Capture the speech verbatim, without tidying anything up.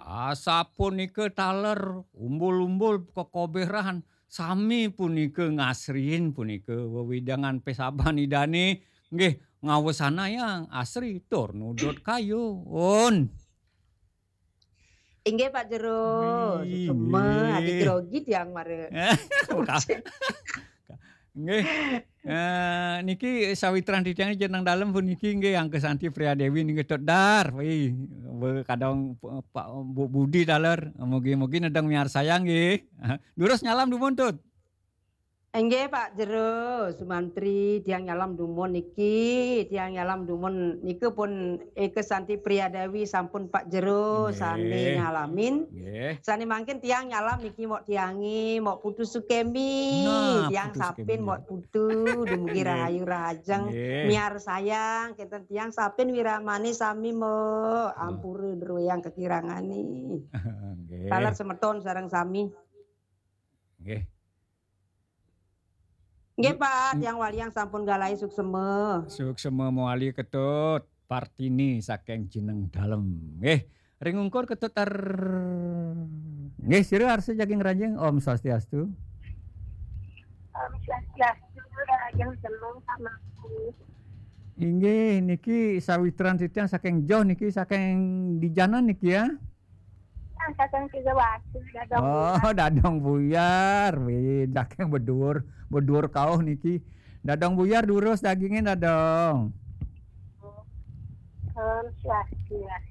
Asapunika taler umbul-umbul kekoberan, sami punika ngasriin punika wewidangan pesaban Idane, nggih, ngawesanayang asri tur nudut kayun. Inggih, Pak Jero. Wih, suksema, nggih. Adi grogi tiang mara. Nggih. Eh, niki sawitran titiang jeneng dalem puniki nggih Angka Santi Priya Dewi niki tedar. Wih, we kadang p-, Pak Bu Budi taler. Mugi-mugi nedeng miarsayang nggih. Durus nyalam dumun, Tut. Inggih, Pak Jero, Sumantri, tiang nyalam dumun niki, tiang nyalam dumun nika pun Eka Santi Priya Dewi sampun Pak Jero Nggih. Sane nyalamin. Nggih. Sane mangkin tiang nyalam niki mok tiange, mok Putu Sukemi. Nah, tiang Putu sapin Sukemi. Mok Putu, dumugi Nggih. Rahayu rahajeng, Nggih. Miarsayang, kenten tiang sapin wiramane sami mok, Nah. Ampura druweyang kekirangane. Nggih. Taler semeton sareng sami. Nggih. Nggih, Pak, tiang waliang sampun galahi suksema. Suksema mawali Ketut, Partini saking Jeneng Dalem. Nggih, ring ungkur Ketut tar-, nggih, sira arsa jaging ranjing, Om Swastiastu. Om Swastiastu, Rahayu Jeneng Samaku. Inggih, niki sawitran titiang saking Joh niki, saking Dijanan niki ya. Ah, saking Tiga Batu, Dadong Oh, Buyar. Dadong Buyar. Wih, saking beduur, beduur kauh niki. Dadong Buyar durus dagingnya, Dadong. Om Swastiastu.